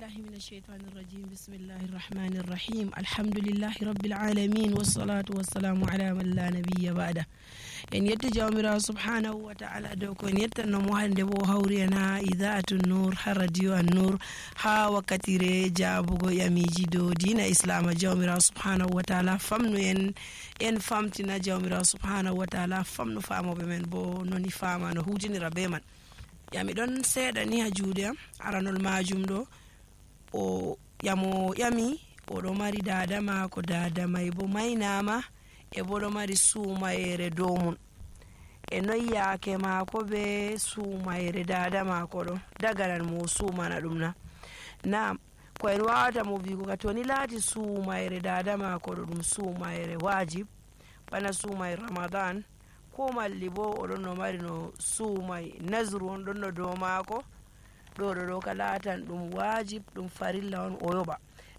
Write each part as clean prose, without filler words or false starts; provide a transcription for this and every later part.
بالله من الشيطان الرجيم بسم الله الرحمن الرحيم الحمد لله رب العالمين والصلاة والسلام على من لا نبي بعده en yetta jawmirawo subhanahu wa ta'ala dow ko en yettannomo hande bo hawriyana idaatu nour ha radio an nour ha wakkatire jaabugo yamiji dow dina islama jawmirawo subhanahu wa ta'ala famnu en famtina jawmirawo subhanahu wa ta'ala famnu famoɓe men bo noni fama no hutinira be man yami ɗon seeɗa ni ha juuɗe am aranol majum ɗo o yami oɗo mari dada mako dada may bo maynama e bo ɗo mari suumayere dow mum e noy yaake mako be suumayere dada mako ɗo daganan mo suumana ɗum na ko en wawata mo wigo ka to ni laati suumayere dada mako ɗo ɗum suumayere wajib bana suumayre ramadan ko malli bo oɗon no mari no suumay nasru on ɗon no dow mako ɗo ka laatan ɗum wajib ɗum farilla on o yoɓa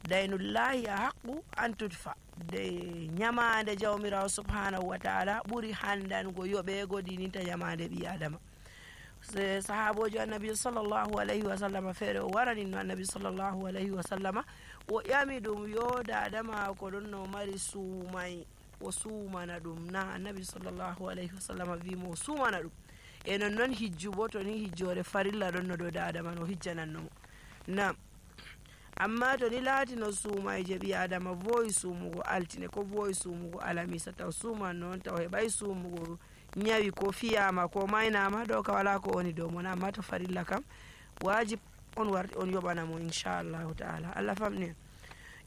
daynullahi a haqqu an tudfa de nyamande jawmirawo subhanahu wa ta'ala ɓuri handango yoɓego dininta nyamande ɓi adama sahabojo annabi sallallahu alayhi wa sallama feere o warani no annabi sallallahu alayhi wa sallama o ƴami ɗum yo dada mako ɗon no mari suumay o suumana ɗum na annabi sallallahu alayhi wa sallama wimo o suumana ɗum e non hijju bo to ni hijjore farilla ɗon no dow dada man o hijjanannomo na amma to ni laati no suumayje ɓi adama voyi suumugo altine ko voyi suumugo alamisa taw suuman noon taw heɓay suumugo ñawi ko fiyama ko maynama ɗo ka wala ko woni dow mon amma to farilla kam wajib on warti on yoɓanamo inchallahu taala allah famni en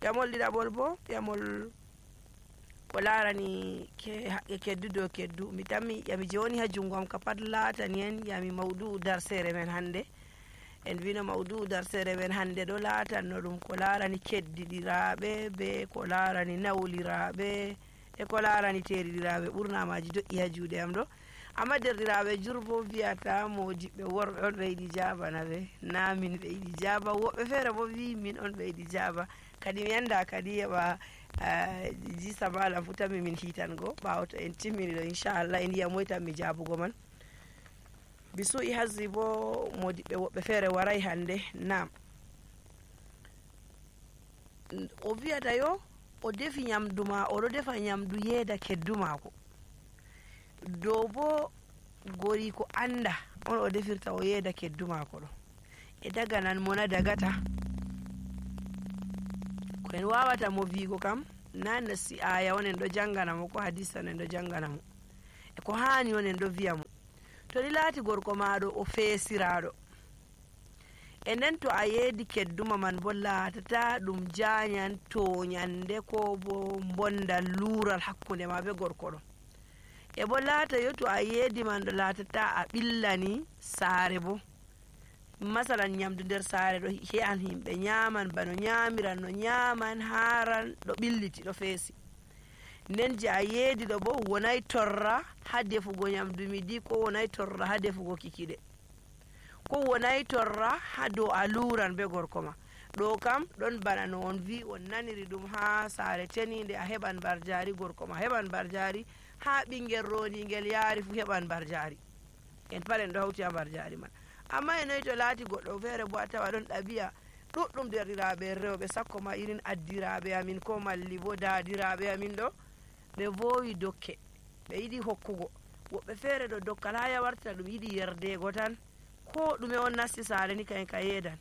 yamol ɗiɗaɓol bo yamol ko larani keddu dow keddu mi tammi yami joni ha jungo am ka pat laatani en yami mawdu darsere men hande en wino mawdu darsere men hande ɗo laatanno ɗum ko larani keddiɗiraɓe be ko larani nawliraɓe e ko larani teriɗiraɓe ɓurnamaji doƴƴi ha juuɗe am ɗo amma derɗiraɓe jurbo wiyata modiɓɓe worɓe on ɓe yiɗi jabana ɓe na min ɓe yiɗi jaba woɓɓe feere bo wi min on ɓe yiɗi jaba kadi mi yanda kadi heɓa jisa malam fu tanmi min hitango ɓawo to en timmini ɗo inchallah en yiya moytan mi jabugo man bisu'i hazzi bo modiɓɓe woɓɓe feere waray hande nam o wiyata yo o defi nyamdu ma oɗo defa nyamdu yeeda keddu mako dow bo gori ko anda on o defirta o yeeda keddu mako ɗo e daganan mona dagata ko en wawata mo wigo kam na nasi aya on en ɗo janganamo ko hadisa en ɗo janganamo e ko hani on en ɗo wiyamo to ni laati gorko maɗo o feesiraɗo e nden to a yeedi kedduma man bo laatata ɗum janyan toñande ko bo bonda luural hakkunde ma be gorko ɗo e bo laata yo to a yeedi man ɗo laatata a ɓillani saare bo masalan nyamdu nder saare ɗo he'an himɓe nyaman bano nyamiran no nyaman haran ɗo ɓilliti ɗo feesi nden je a yeedi ɗo bo wonay torra ha defugo nyamdu midi ko wonay torra ha defugo kikiɗe ko wonay torra ha dow aluran be gorko ma ɗo kam ɗon bana no on wi on naniri ɗum ha saare tenide a heɓan barjari gorko ma heɓan barjari ha ɓingel roningel yaari fu heɓan barjari en pat en ɗo hawti ha barjari man amma e noyi to laati goɗɗo feere bo a tawa ɗon ɗabi'a ɗuɗɗum derɗiraɓe rewɓe sakko ma irin addiraɓe amin ko malli bo daadiraɓe amin ɗo ɓe vowi dokke ɓe yiɗi hokkugo woɓɓe feere ɗo dokkal ha yawarta ɗum yiɗi yerdego tan ko ɗume on nasti saare ni kayen ka yeedan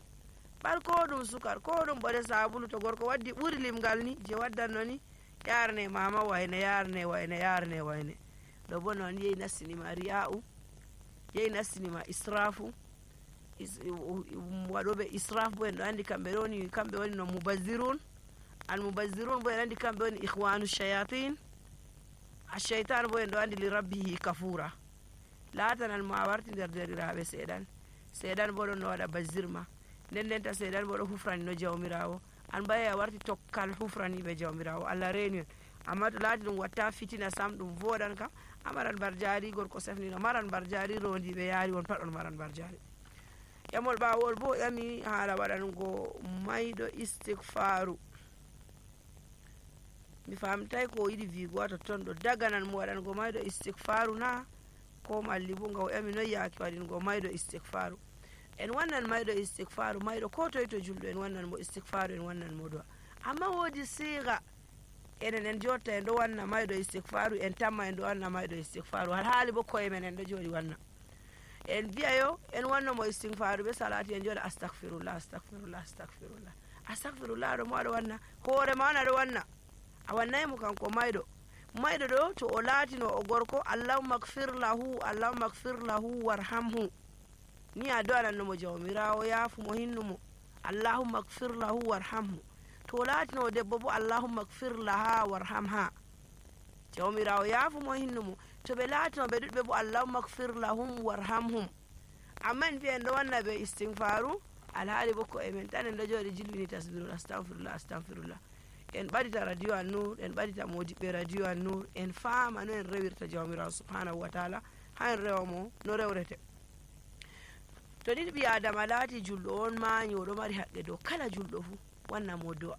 ɓar ko ɗum sukar ko ɗum ɓoɗe sabulu to gorko waddi ɓuri limgal ni je waddanno ni yarne mama wayne yarne wayne ɗo bo noon yehi nastinima riya'u yehi nastinima israfu waɗoɓe israf bo en ɗo andi kamɓe woni no mubazzirun al mubazzirun bo en andi kamɓe woni ihwanu shayatin ashaitan bo en ɗo andi li rabbihi kafura laatanan mo a warti nder derɗiraɓe seeɗan bo ɗon no waɗa bazzirma ndenta seeɗan bo ɗo hufrani no jawmirawo an baye a warti tokkal hufraniɓe jawmirawo allah reeni on amma to laati ɗum watta fitina sam ɗum voɗan kam amaran barjari gorko sefnino maran barjari rondiɓe yaari won pat on maran barjari yamol ɓawol bo ƴami haala waɗango mayɗo istigfaru mi famtay ko yiɗi wigo wato ton ɗo daganan mo waɗango mayɗo istigfaru na ko malli bo nga o ƴami noy yaake waɗingo mayɗo istigfaru en wannan mayɗo istighfaru mayɗo ko toye to julɗo en wannan mo istighfaru en wannan mo du'a amma wodi siga enen en jotta en ɗo wanna mayɗo istighfaru en tamma en ɗo wanna mayɗo istighfaru har haali bo koye men en ɗo jooɗi wanna en mbiya yo en wanno mo istighfaru be salati en jooɗa astahfirullah astahfirullah astahfirullah astahfirullah ɗo mo aɗa wanna hoore ma on aɗa wanna a wannayi mo kanko mayɗo ɗo to o laatino o gorko allahumma gfir lahu warhamhu ni a do'anannomo jawmirawo yaafumo hinnumo allahumma gfir lahu warhamhu to laatino debbo bo allahumma gfir laha warhamha jawmirawo yaafumo hinnumo to ɓe laatino ɓe ɗuɗɓe bo allahumma gfir lahum warhamhum amma en mbiya en ɗo wanna ɓe istighfaru alhaali bo ko emen tan en ɗo jooɗi jilwini tasbirul astahfirullah astahfirullah en ɓaɗita radio an nour en ɓaɗita modiɓɓe radio an nour en faama no en rewirta jawmirawo subhanahu wa taala ha en rewa mo no rewrete to ɗiɗi ɓi adama laati julɗo on mañi oɗo mari haqqe dow kala julɗo fuu wanna mo do'a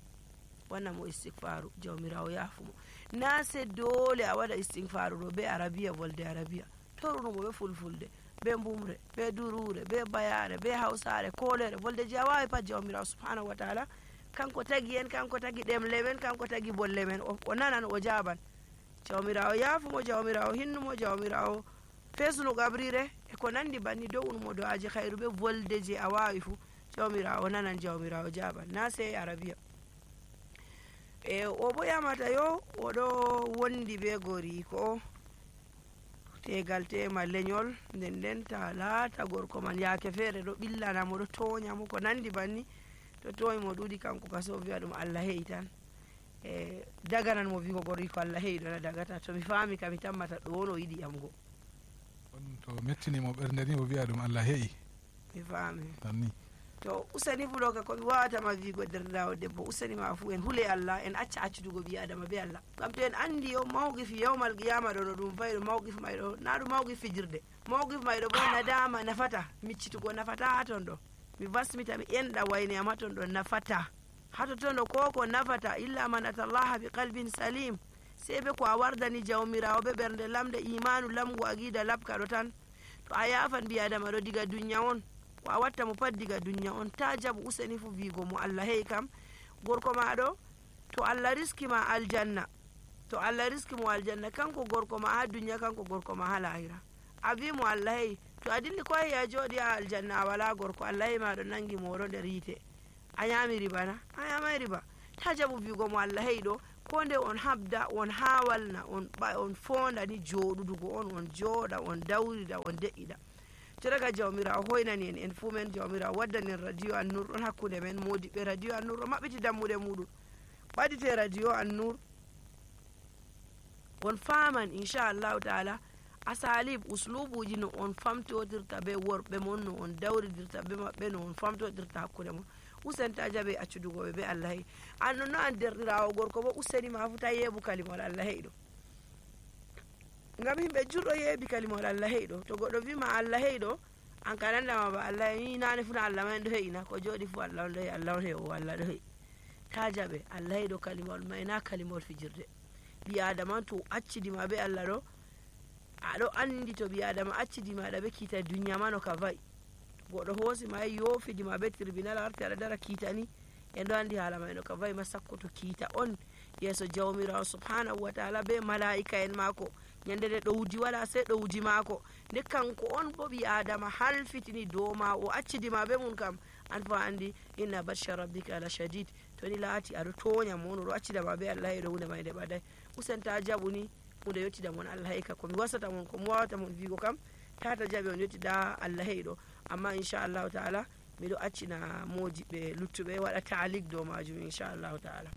wanna mo istighfaru jawmirawo yaafumo na se dole a waɗa istighfaru ɗo be arabiya volde arabiya torunomo ɓe fulfulde be mbumre be durure be bayare be hausare kolere volde je a wawi pat jawmirawo subhanahu wa taala kanko tagi en kanko tagi ɗemle men kanko tagi bolle men o nanan o jaban jawmirawo yaafumo jawmirawo hinnumo jawmirawo fesuno gabrire e ko nandi banni do'unumo do'aji hayru be volde je a wawi fuu jawmirawo nanan jawmirawo jaban na sey arabiya e o bo yamata yo oɗo wondi be goriko tegal tema leñol nden ta laata gorko man yaake feere ɗo ɓillanamo ɗo toñamo ko nandi banni to toñi mo ɗuɗi kanko kaso wiya ɗum allah heyi tan e daganan mo wigo goriko allah heyi ɗona dagata to mi faami ka mi tammata ɗo no yiɗi yamgo on to mettinimo ɓernde ni o wiya ɗum allah heyi mi faami tanni to usani fu ɗo ka komi wawatama wigo derdawo debbo usani ma fu en huule allah en acca accudugo ɓi adama be allah ngam to en andi yo mawqifi yawmal qiyama ɗo no ɗum fayi ɗo mawqif mayɗo na ɗum mawqif fijirde mawqif mayɗo bo nadama nafata miccitugo nafata ha ton ɗo mi basmita mi enɗa wayne am ha ton ɗo nafata hato ton ɗo koko nafata illa man atallaha bi qalbin salim sei be ko a wardani jawmirawo be ɓernde lamde imanu lamgu aqida labka ɗo tan to a yafan mbi adama ɗo diga dunya on ko a watta mo pat diga dunya on ta jaɓu useni fu wigo mo allah heyi kam gorko maɗo to allah riski ma aljanna to allah riski mo aljanna kanko gorko ma ha dunya kanko gorko ma ha lahira a wi mo allah heyi to a dilli ko heyi a jooɗi ha aljanna a wala gorko allah heyi maɗo nangi moɗo nder yite a yami riba na a yamai riba ta jaɓu wigo mo allah heyi ɗo ko nde on habda on hawalna on fonda ni joɗudugo on jooɗa on dawrida on de'ida to daga jawmirawo hoynani en fuu men jawmirawo waddani en radio an nour ɗon hakkude men modiɓɓe radio an nour o maɓɓiti dammuɗe muɗum ɓaɗite radio an nour on faman inchallahu taala asalib uslubuji no on famtodirta be worɓe mon no on dawridirta be maɓɓe no on famtodirta hakkude mon usenta jaɓe accudugoɓe be allah hey an non no an derɗirawo gorko bo useni ma fu ta yeebu kalimol allah hey ɗo ngam himɓe jurɗo yeebi kalimol allah hey ɗo to goɗɗo wima allah hey ɗo an ka nandama ba allah ni nane funa allah ma en ɗo heyina ko jooɗi fu allah on ɗo hey allah on hey o allah ɗo hey ta jaɓe allah hey ɗo kalimol may na kalimol fijirde ɓi adama to accidima be allah ɗo aɗo andi to ɓi adama accidimaɗa be kiita duniya ma no ka vayi goɗɗo hoosima yofidima be tribunal arti aɗa dara kiitani en ɗo andi haala may no ka vayi ma sakko to kiita on yeeso jawmirawo subhanahu wa taala be malaika en maako ñande nde ɗowdi waɗa sey ɗowdi maako nde kanko on bo ɓi adama halfitini dow ma o accidima be mum kam an fo andi inna batsha rabbika la shadid to ni laati aɗo toña mo on oɗo accidama be allah heɗo hunde may nde ɓaday usenta jaɓuni hunde yettida mon allah hey ka komi wasata mon komi wawata mon wigo kam tata jaɓi on yettida allah hey ɗo amma inchallahu taala miɗo accina modiɓɓe luttuɓe waɗa taalik dow majum inchallahu taala